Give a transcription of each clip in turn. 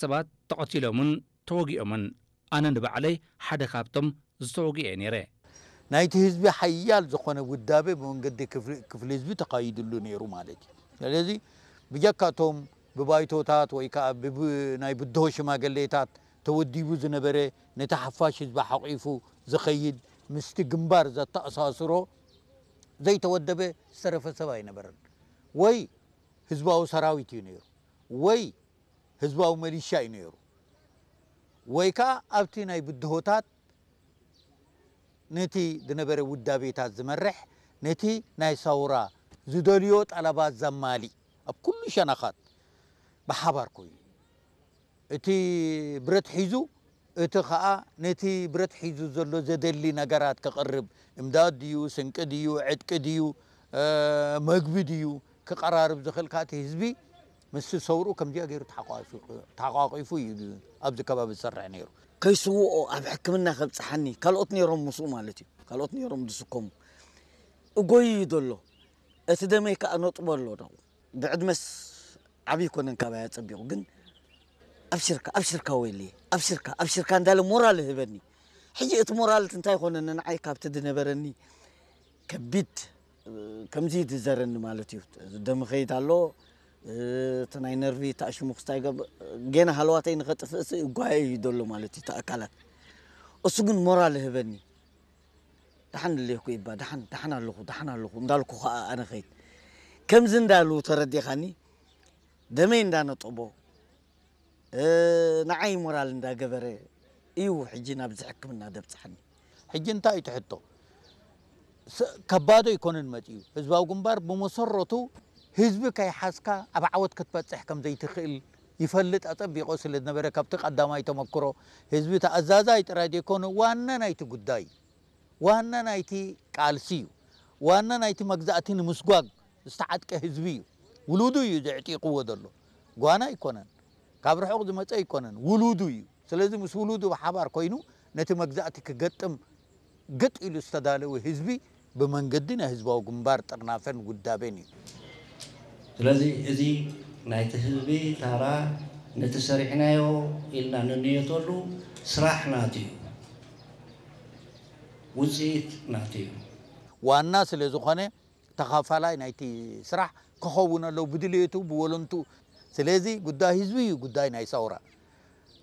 ሰባት ተቐቲሎምን ተወጊኦምን፣ ኣነ ንባዕለይ ሓደ ካብቶም ዝተወግኤ ነይረ። ናይቲ ህዝቢ ሓያል ዝኾነ ውዳቤ ብመንገዲ ክፍሊ ህዝቢ ተኻይድሉ ነይሩ ማለት እዩ። ስለዚ ብጀካቶም ብባይቶታት ወይ ከዓ ናይ ብድሆ ሽማግሌታት ተወዲቡ ዝነበረ ነቲ ሓፋሽ ህዝቢ ሓቒፉ ዝኸይድ ምስቲ ግንባር ዘተኣሳስሮ ዘይተወደበ ዝተረፈ ሰብ ኣይነበረን። ወይ ህዝባዊ ሰራዊት እዩ ነይሩ፣ ወይ ህዝባዊ መሊሻ እዩ ነይሩ፣ ወይ ከዓ ኣብቲ ናይ ብድሆታት ነቲ ዝነበረ ውዳቤታት ዝመርሕ፣ ነቲ ናይ ሰውራ ዝደልዮ ጠለባት ዘማሊእ ኣብ ኩሉ ሸነኻት ብሓባር ኮይኑ እቲ ብረት ሒዙ እቲ ኸኣ ነቲ ብረት ሒዙ ዘሎ ዘደሊ ነገራት ክቕርብ፣ እምዳድ ድዩ፣ ስንቂ ድዩ፣ ዕጥቂ ድዩ፣ መግቢ ድዩ ክቐራርብ ዝኽእል ከኣ እቲ ህዝቢ ምስቲ ሰውርኡ ከምዚኣ ገይሩ ተሓቋቒፉ እዩ ኣብዚ ከባቢ ዝሰርሕ ነይሩ። ከይስውኦ ኣብ ሕክምና ከብጽሓኒ ካልኦት ነይሮም ምስኡ ማለት እዩ። ካልኦት ነይሮም ዝስከሙ። እጎይ እዩ ዘሎ። እቲ ደመይ ከኣ ነጥቦ ኣሎ። ብዕድመስ ዓብዪ ኮነን ካባይ ኣጸቢቑ ግን ኣብሽርካ ኣብሽርካ ወይለየ ኣብሽርካ ኣብሽርካ እንዳለ ሞራል ይህበኒ። ሕጂ እቲ ሞራል እንታይ ኮነኒ ንዓይ ካብቲ ዝነበረኒ ከቢድ ከምዚ ዝዘረኒ ማለት እዩ። ደም ኸይድ ኣሎ እቲ ናይ ነርቪ ተኣሽሙ ክስታይ ገብ ጌና ሃለዋተይ ንኸጥፍእሲ እጓየ እዩ ዘሎ ማለት እዩ እቲ ኣካላት። እሱ ግን ሞራል ይህበኒ። ደሓን ኣለኹ ኢባ ደሓን ደሓን ኣለኹ ደሓን ኣለኹ እንዳልኩ ኸኣ ኣነ ኸይድ ከምዚ እንዳሉ ተረዲኻኒ ደመይ እንዳነጠቦ ንዓይ ሞራል እንዳገበረ እዩ ሕጂ ናብዚ ሕክምና ደብፅሓኒ። ሕጂ እንታይ እዩ እቲ ሕቶ? ከባዶ ኣይኮነን መፂኡ። ህዝባዊ ግንባር ብመሰረቱ ህዝቢ ከይሓዝካ ኣብ ዓወት ክትበፅሕ ከም ዘይትኽእል ይፈልጥ ኣፀቢቑ ስለ ዝነበረ ካብቲ ቀዳማይ ተመክሮ ህዝቢ ተኣዛዛይ ጥራይ ዘይኮነ ዋና ናይቲ ጉዳይ ዋና ናይቲ ቃልሲ እዩ። ዋና ናይቲ መግዛእቲ ንምስጓግ ዝተዓጥቀ ህዝቢ እዩ። ውሉዱ እዩ ዘዕጢቕዎ ዘሎ። ጓና ኣይኮነን፣ ካብ ርሑቕ ዝመጸ ኣይኮነን፣ ውሉዱ እዩ። ስለዚ ምስ ውሉዱ ብሓባር ኮይኑ ነቲ መግዛእቲ ክገጥም ግጥ ኢሉ ዝተዳለወ ህዝቢ ብመንገዲ ናይ ህዝባዊ ግንባር ጥርናፈን ውዳቤን እዩ። ስለዚ እዚ ናይቲ ህዝቢ ታራ ነቲ ሰሪሕናዮ ኢልና ንንየተሉ ስራሕ ናቱ እዩ። ውፅኢት ናቱ እዩ። ዋና ስለ ዝኾነ ተኻፋላይ ናይቲ ስራሕ ክኸውን ኣለዎ ብድልየቱ ብወለንቱ። ስለዚ ጉዳይ ህዝቢ እዩ ጉዳይ ናይ ሰውራ።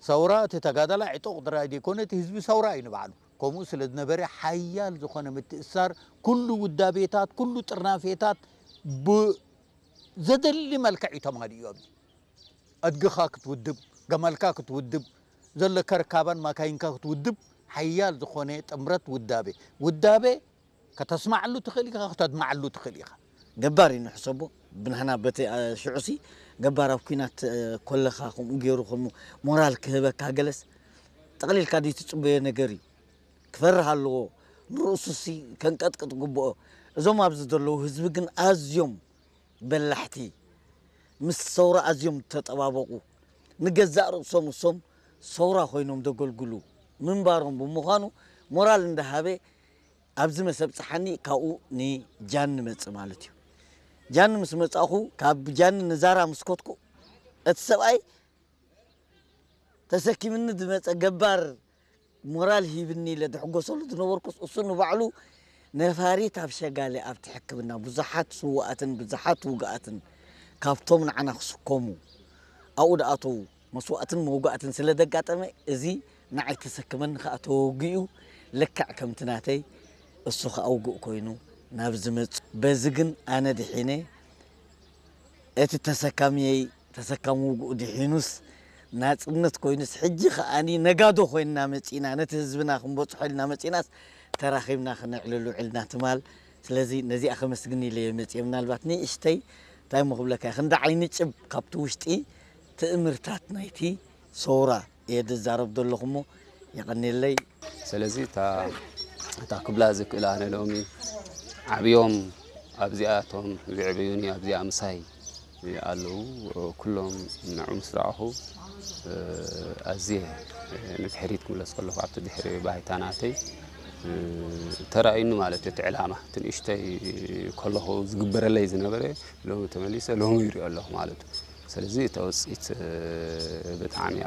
ሰውራ እቲ ተጋዳላይ ዕጡቕ ጥራይ ዘይኮነ እቲ ህዝቢ ሰውራ እዩ ንባዕሉ። ከምኡ ስለ ዝነበረ ሓያል ዝኾነ ምትእስሳር ኩሉ ውዳቤታት ኩሉ ጥርናፌታት ብዘደሊ መልክዕ እዩ ተማሊኡ ኣብዚ። ኣድግኻ ክትውድብ፣ ገመልካ ክትውድብ፣ ዘለካ ርካባን ማካይንካ ክትውድብ ሓያል ዝኾነ ጥምረት ውዳቤ። ውዳቤ ከተስማዓሉ ትኽእል ኢኻ፣ ክተድማዓሉ ትኽእል ኢኻ። ገባር እዩ ንሕሰቦ ብናህና በቲ ሽዑሲ ገባር ኣብ ኩናት ኮለኻ ከምኡ ገይሩ ከም ሞራል ክህበካ ገለስ ጠቕሊልካ ድዩ ትጽበዮ ነገር እዩ። ክፈርህ ኣለዎ ንርእሱሲ ከንቀጥቅጥ ግብኦ። እዞም ኣብዚ ዘለዉ ህዝቢ ግን ኣዝዮም በላሕቲ ምስ ሰውራ ኣዝዮም ዝተጠባበቑ ንገዛእ ርእሶም እሶም ሰውራ ኮይኖም ዘገልግሉ ምንባሮም ብምዃኑ ሞራል እንዳሃበ ኣብዚ መሰብፅሓኒ ካብኡ ንጃኒ መፅእ ማለት እዩ። ጃኒ ምስ መፃእኹ ካብ ጃኒ ንዛራ ምስ ከድኩ እቲ ሰብኣይ ተሰኪምኒ ዝመፀ ገባር ሞራል ሂብኒ ኢለ ዝሕጎሰሉ ዝነበርኩስ እሱ ንባዕሉ ነፋሪት ኣብ ሸጋሊ ኣብቲ ሕክምና ብዙሓት ስውኣትን ብዙሓት ውግኣትን ካብቶም ንዓና ክስከሙ ኣብኡ ዝኣተዉ መስዋእትን መውጋእትን ስለ ዘጋጠመ እዚ ንዓይ ተሰክመኒ ከዓ ተወጊኡ ልክዕ ከምቲ ናተይ እሱ ከዓ ውጉእ ኮይኑ ናብ ዝመፅ በዚ ግን ኣነ ድሒነ እቲ ተሰካሚየይ ተሰካሚ ውግኡ ድሒኑስ ናፅነት ኮይኑስ ሕጂ ከዓኒ ነጋዶ ኮይንና መፂና ነቲ ህዝብና ክንበፅሖ ኢልና መፂናስ ተራኺብና ክነዕልል ውዒልና ትማል። ስለዚ ነዚኣ ከመስግን ኢለ እየ መፂአ። ምናልባት ንእሽተይ እንታይ እሞ ክብለካ እየ፣ ክንዲ ዓይኒ ጭብ ካብቲ ውሽጢ ትእምርታት ናይቲ ሰውራ እየ ዝዛረብ ዘለኹ እሞ የቐንየለይ። ስለዚ እታ እታ ክብላ ዝክእል ኣነ ሎሚ ዓብዮም ኣብዚኣ እቶም ዝዕበዩኒ ኣብዚኣ ምሳይ ኣለዉ። ኩሎም ንዑ ምስ ረኣኹ ኣዝየ ንድሕሪት ክምለስ ከለኹ ኣብቲ ድሕሪ ባይታ ናተይ ተራእዩኒ ማለት እዩ። እቲ ዕላማ እቲ ንእሽተይ ከለኹ ዝግበረለይ ዝነበረ ሎሚ ተመሊሰ ሎሚ ይሪኦ ኣለኹ ማለት እዩ። ስለዚ እታ ውፅኢት ብጣዕሚ ኣብ